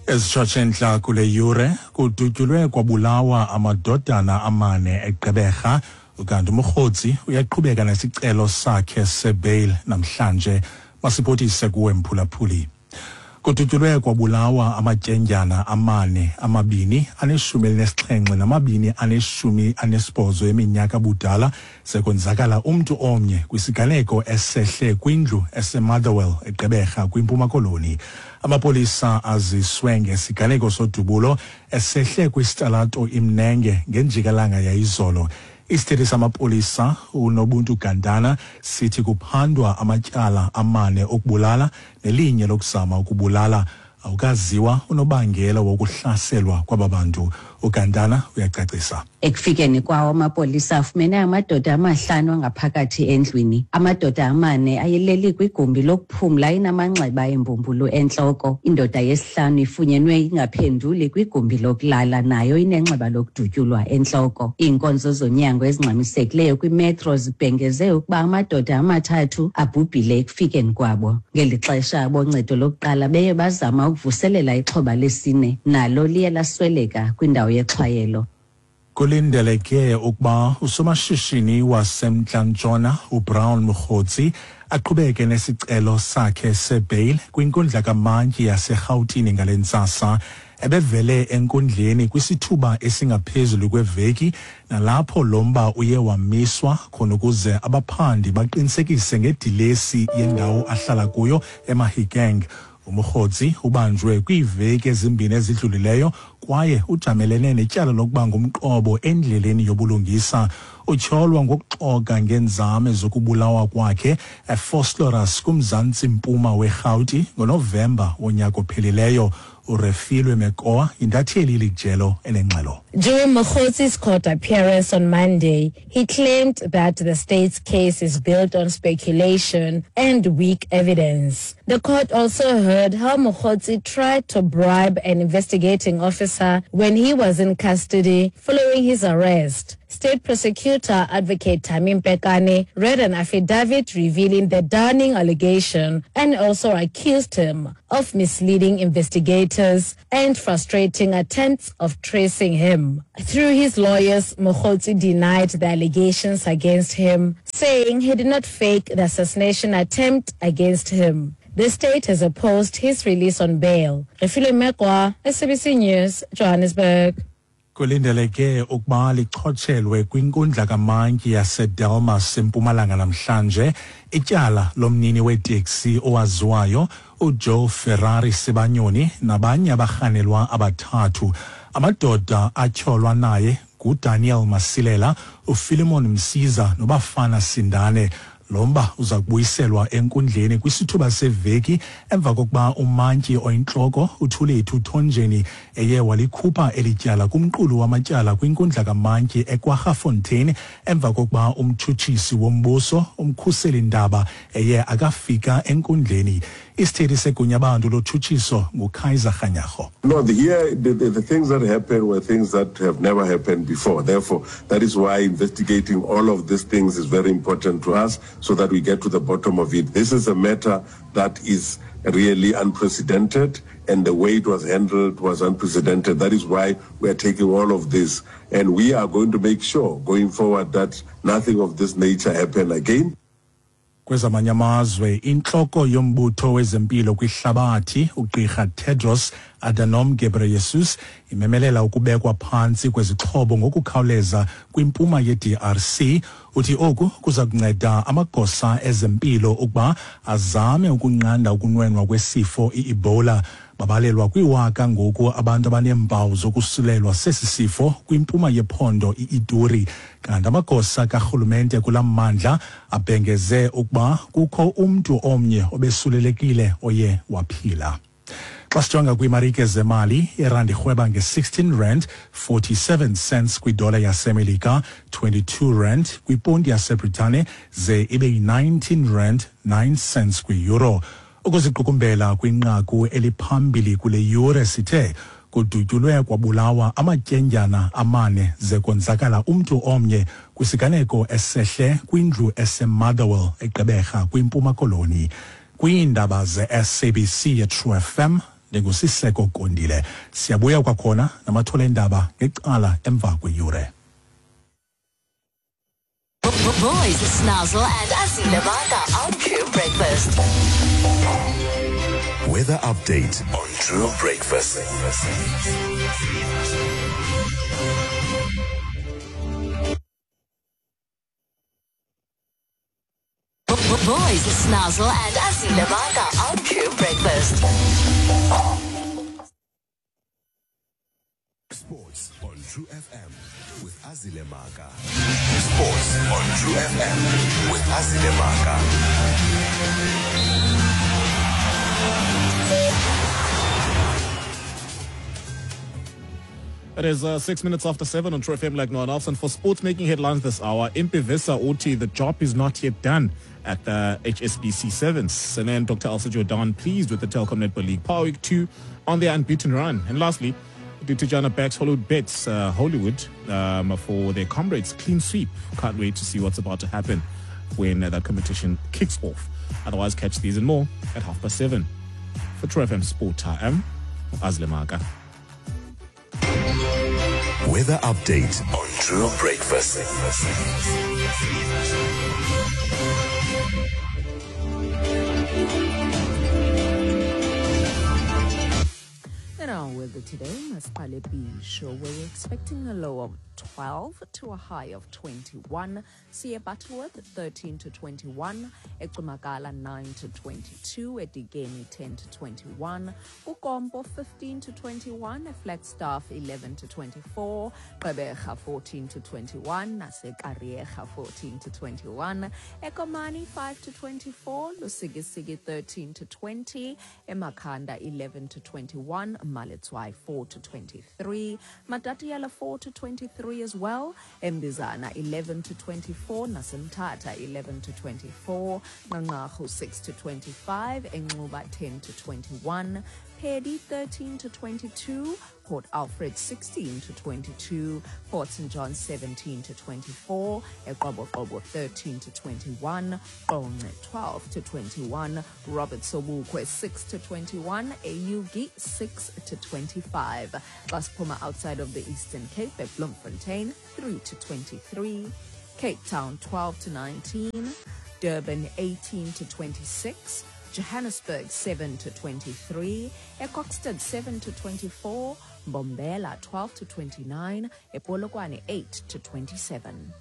Ezitshotshe kule yure kudutyulwe kwabulawa amadodana amane eGqeberha, ukanti uMokgotsi uyaqhubeka nesicelo sakhe sebail namhlanje. Masiphothise kuwe, mphulaphuli. Kudutyulwe kwabulawa amatyendyana amane, amabini aneshumi elinesixhenxe namabini aneshumi anesibhozo eminyaka budala, sekonzakala umntu omnye kwisiganeko esehle kwindlu eseMotherwell eGqeberha kwiMpuma Koloni. Amapolisa aziswe ngesiganeko sodubulo esehle kwisitalato iMnenge ngenjikalanga yayizolo. Isithethi samapolisa uNobuntu Gantana sithi kuphandwa amatyala amane okubulala nelinye lokuzama ukubulala. Awukaziwa unobangela wokuhlaselwa kwaba bantu. UGantana uyacacisa. Ekufikeni kwawo, amapolisa afumene amadoda amahlanu angaphakathi endlwini. Amadoda amane ayeleli kwigumbi lokuphumla inamanxeba embumbulu entloko. Indoda yesihlanu ifunyenwe ingaphenduli kwigumbi lokulala, nayo inenxeba lokudutyulwa entloko. Iinkonzo zonyango ezingxamisekileyo kwiMetro zibhengeze ukuba amadoda amathathu abhubhile ekufikeni kwabo. Ngeli xesha, aboncedo lokuqala beye bazama ukuvuselela ixhoba lesine, nalo liye lasweleka kwindawo yexhwayelo. Kulindeleke ukuba usomashishini waseMntla-Ntshona uBrown Mogotsi aqhubeke nesicelo sakhe sebail kwinkundla kamantyi yaseRhawutini ngale ntsasa. Ebevele enkundleni kwisithuba esingaphezulu kweveki, nalapho lo mba uye wamiswa khona ukuze abaphandi baqinisekise ngedilesi yendawo ahlala kuyo eMahikeng. UMogotsi ubanjwe kwiiveki ezimbini ezidlulileyo kwaye ujamelene netyala lokuba ngumqobo endleleni yobulungisa. Utyholwa ngokuxoka ngeenzame zokubulawa kwakhe eVosloorus kumzantsi mpuma weRhawuti ngoNovemba wonyaka ophelileyo. URefilwe Mekoa, intatheli ilijelo enengxelo. During Mogotsi's court appearance on Monday, he claimed that the state's case is built on speculation and weak evidence. The court also heard how Mogotsi tried to bribe an investigating officer when he was in custody following his arrest. State prosecutor Advocate Tamim Pekane read an affidavit revealing the damning allegation and also accused him of misleading investigators and frustrating attempts of tracing him. Through his lawyers, Mogotsi denied the allegations against him, saying he did not fake the assassination attempt against him. The state has opposed his release on bail. Refilwe Mekwa, SABC News, Johannesburg. Kulindeleke ukuba lichotshelwe kwinkundla kamantyi yaseDelmas eMpumalanga namhlanje ityala lomnini weteksi owaziwayo uJoe Ferrari Sibanyoni nabanye abarhanelwa abathathu. Amadoda atyholwa naye nguDaniel Masilela, uPhilemon Msiza noBafana Sindane. Lo mba uza kubuyiselwa enkundleni kwisithuba seveki emva kokuba umantyi oyintloko uThulethu Thonjeni eye walikhupha eli tyala kumqulu wamatyala kwinkundla kamantyi eKwaggafontein emva kokuba umtshutshisi wombuso uMkhuseli Ndaba eye akafika enkundleni. Isithethi segunyabantu lotshutshiso nguKaiser Kganyago. No, here the things that happened were things that have never happened before. Therefore, that is why investigating all of these things is very important to us so that we get to the bottom of it. This is a matter that is really unprecedented, and the way it was handled was unprecedented. That is why we are taking all of this, and we are going to make sure going forward that nothing of this nature happen again. Kwezamanye amazwe, intloko yombutho wezempilo kwihlabathi ugqirha Tedros Adhanom Ghebreyesus imemelela ukubekwa phantsi kwezixhobo ngokukhawuleza kwimpuma ye-DRC. Uthi oku kuza kunceda amagosa ezempilo ukuba azame ukunqanda ukunwenwa kwesifo i-Ebola. Babalelwa kwiwaka ngoku abantu abaneempawu zokusulelwa sesi sifo kwimpuma yephondo i-Ituri, kanti amagosa karhulumente kulaa mmandla abhengeze ukuba kukho umntu omnye obesulelekile oye waphila. Xa sijonga kwiimarike zemali, irandi irhweba nge-16 rand 47 cents kwidola yaseMelika, 22 rand kwiponti yaseBritane, ze ibe yi-19 rand 9 cents kwi-euro. Ukuziqukumbela kwinqaku eliphambili kule yure, sithe kudutyulwe kwabulawa amatyendyana amane ze konzakala umntu omnye kwisiganeko esehle kwindlu eseMotherwell eGqeberha kwiMpuma Koloni. Kwiindaba ze-SABC ye-True FM, ndinguSiseko Kondile. Siyabuya kwakhona namathole endaba ngecala emva kweyure. Boys, Snazzle and Azile Maka on True Breakfast. Weather update on True Breakfast. Boys, Snazzle and Azile Maka on True Breakfast. Sports on True FM with Azile Maka. Sports on True FM with Azile Maka. It is 7:06 on True FM like no one else. And for sports making headlines this hour, Impi Visser Uti, the job is not yet done at the HSBC Sevens. And then Dr. Elsa Jordan pleased with the Telkom Netball League Power Week 2 on their unbeaten run. And lastly, Tijana backs Hollywood bets Hollywood for their comrades clean sweep. Can't wait to see what's about to happen when that competition kicks off. Otherwise, catch these and more at 7:30. For True FM Sport, I am Azle Maka. Weather update on True Breakfast. In our weather today, Masqale Bisho, we're expecting a low of 12 to a high of 21. Siye Butterworth 13 to 21, eCumakala 9 to 22, eDikeni 10 to 21, uKompo 15 to 21, eFlagstaff 11 to 24, Gqeberha 14 to 21, naseKariega 14 to 21, eKomani 5 to 24, Lusikisiki 13 to 20, eMakhanda 11 to 21, Maletswai 4 to 23, Matatiele 4 to 23 as well, Mbizana 11 to 24, naseMthatha 11 to 24, Nqanqarhu 6 to 25, eNxuba 10 to 21, Peddie 13 to 22, Port Alfred 16 to 22, Port St. John 17 to 24, eQoboqobo 13 to 21, Qonce 12 to 21, Robert Sobukwe 6 to 21, eUgie 6 to 25. Xa siphuma outside of the Eastern Cape at Bloemfontein 3 to 23, Cape Town 12 to 19, Durban 18 to 26, Johannesburg 7 to 23, eKokstad 7 to 24, Mbombela 12 to 29, ePolokwane 8 to 27.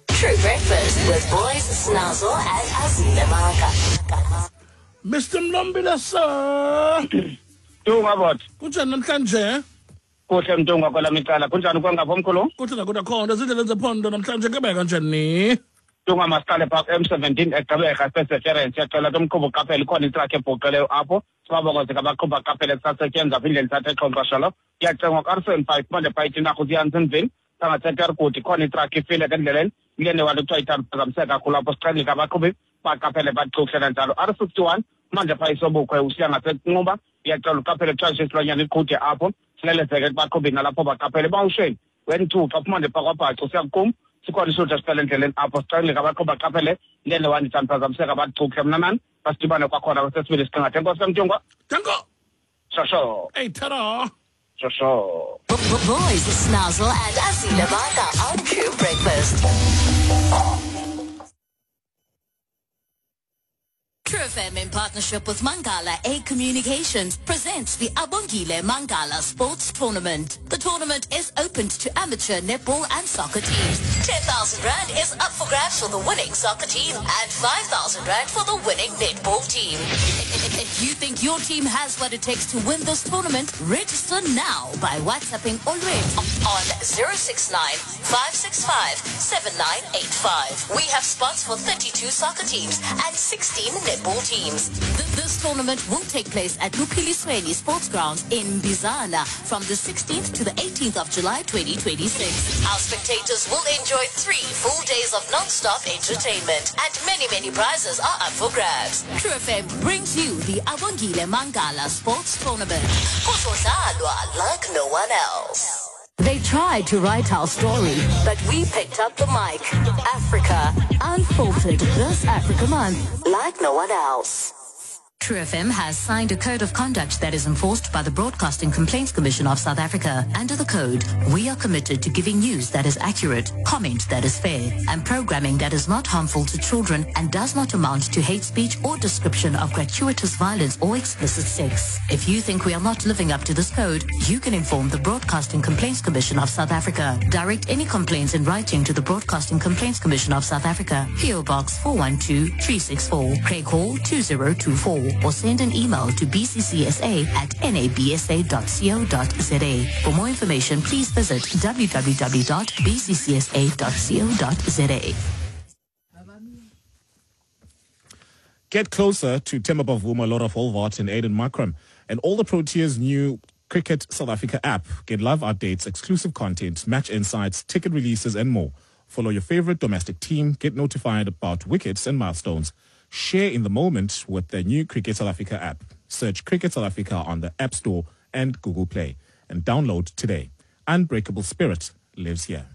True Breakfast with Boys, Snazzle and Azile Maka. Mr. Mlombile, sir. Mntungwa bot. Kunjani namhlanje? Kuhle Mntungwa kwelami icala. Kunjani kwangapha mkhulu? Kuhle nakuda khona zindleleni zephondo namhlanje kebeka kanjani? Mntungwa masiqale pha M17 eGqeberha Perseverance. Siyacela ke umqhubi uqaphele ikhona itruck ebhuqileyo apho. Sibabokoze ke abaqhubi baqaphele kusasetyenzwa apha indlela ithatha exhoxosholo. Kuyacengwa ku-R75 manje pha iTinarha usiya Jansenville. Sangaseterkut ikhona itruck ifile ke endleleni. Kule wanto kuthiwa ithaphazamiseka kakhulu apho. Sicela ke abaqhubi baqaphele baxuhle kanjalo. R61 manje pha iSobukhwe usiya ngaseNxuba. Iyacela uqaphele kuthiwa nje isilwanyana iqhude apho. Silelezeke kubaqhubi nalapho baqaphele. Bawusheni N2 xa phuma nje pha kwaBhaca usiya kuQumbu. Sikhona isuthu esicela endleleni apho. Sicela ke abaqhubi baqaphele le wani ithaphazamiseka baxuhle mnanani. Basidibane kwakhona kwesesibini isiqingatha. Enkosi Mntungwa. Danko. Shosho. Hey, ta-da. Shosho. Boys, Snazzle and Azile Maka on True Breakfast. True FM in partnership with Mangala A Communications presents the Abongile Mangala Sports Tournament. The tournament is open to amateur netball and soccer teams. 10,000 Rand is up for grabs for the winning soccer team and 5,000 Rand for the winning netball team. If you think your team has what it takes to win this tournament, register now by WhatsApping Olwethu on 069 565 7985. We have spots for 32 soccer teams and 16 netball teams. This tournament will take place at Luphilisweni Sports Grounds in Mbizana from the 16th to the 18th of July 2026. Our spectators will enjoy 3 full days of non-stop entertainment and many, many prizes are up for grabs. True FM brings you the Abongile Mangala Sports Tournament. Kuzodlalwa like no one else. They tried to write our story, but we picked up the mic. Africa Unfiltered this Africa Month, like no one else. True FM has signed a code of conduct that is enforced by the Broadcasting Complaints Commission of South Africa. Under the code, we are committed to giving news that is accurate, comment that is fair, and programming that is not harmful to children and does not amount to hate speech or description of gratuitous violence or explicit sex. If you think we are not living up to this code, you can inform the Broadcasting Complaints Commission of South Africa. Direct any complaints in writing to the Broadcasting Complaints Commission of South Africa, PO Box 412-364, Craig Hall 2024, or send an email to bccsa at nabsa.co.za. For more information, please visit www.bccsa.co.za. Get closer to Temba Bavuma, Laura Wolvaardt and Aiden Markram and all the Proteas' new Cricket South Africa app. Get live updates, exclusive content, match insights, ticket releases and more. Follow your favorite domestic team, get notified about wickets and milestones. Share in the moment with the new Cricket South Africa app. Search Cricket South Africa on the App Store and Google Play and download today. Unbreakable spirit lives here.